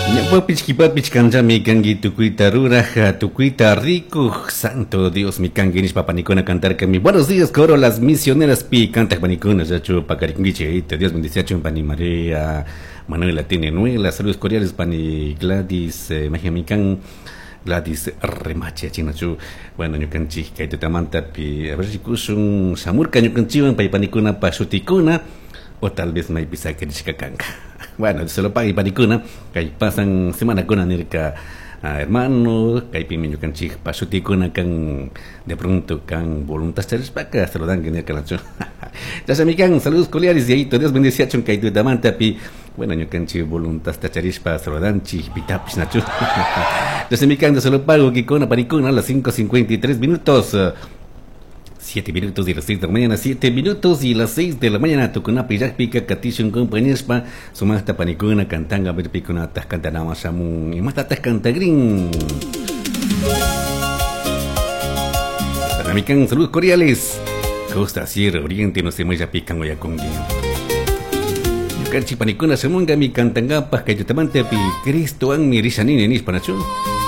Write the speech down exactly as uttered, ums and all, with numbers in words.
Ñawpapich kipapich kanchami kanki tukuyta ruraj, tukuyta rikuj, Santo Dios mi kanki nishpa panikuna cantarkami. Buenos días, coro las misioneras pi cantaj panikuna, yachu pakarikunkichik, Dios bendiciachun pani María, Manuela tiene Nuela, saludos cordiales pani Gladys, eh, Majamican, Gladys Remache, chinachu, bueno, ñukanchik kay tutamantapi, a ver si kushun shamurka ñukanchiwan pay panikuna pa shutikuna, o tal vez maypi sakirishka kanka. Bueno, se lo paga panikuna, kay pasan semanakuna nirka, ah, hermano, kaypimi ñukanchik pa shutikuna kan de pronto kan voluntad charishpaka saludanki nirka nachu. Chashamikan, saludos cordiales, y ahí Dios bendiciachun kay tutamantapi, bueno, ñukanchik voluntad charishpa saludanchik pitapish nachu. Chashamikan, se lo pago kikuna panikuna a las cinco cincuenta y tres minutos. siete minutos y las seis de la mañana, siete minutos y las seis de la mañana, tukunapi llakpika katishun compañerspa, sumaqta panikuna cantanga verpikuna tascantanama shamun, y más cantagrin. Ramikan, saludos cordiales. Costa, Sierra, Oriente, no se muella pican oyakungi. Ñukanchik panikuna shamunga mi cantangapaj kayutamantepi Cristo an mi rishanini nishpanachu.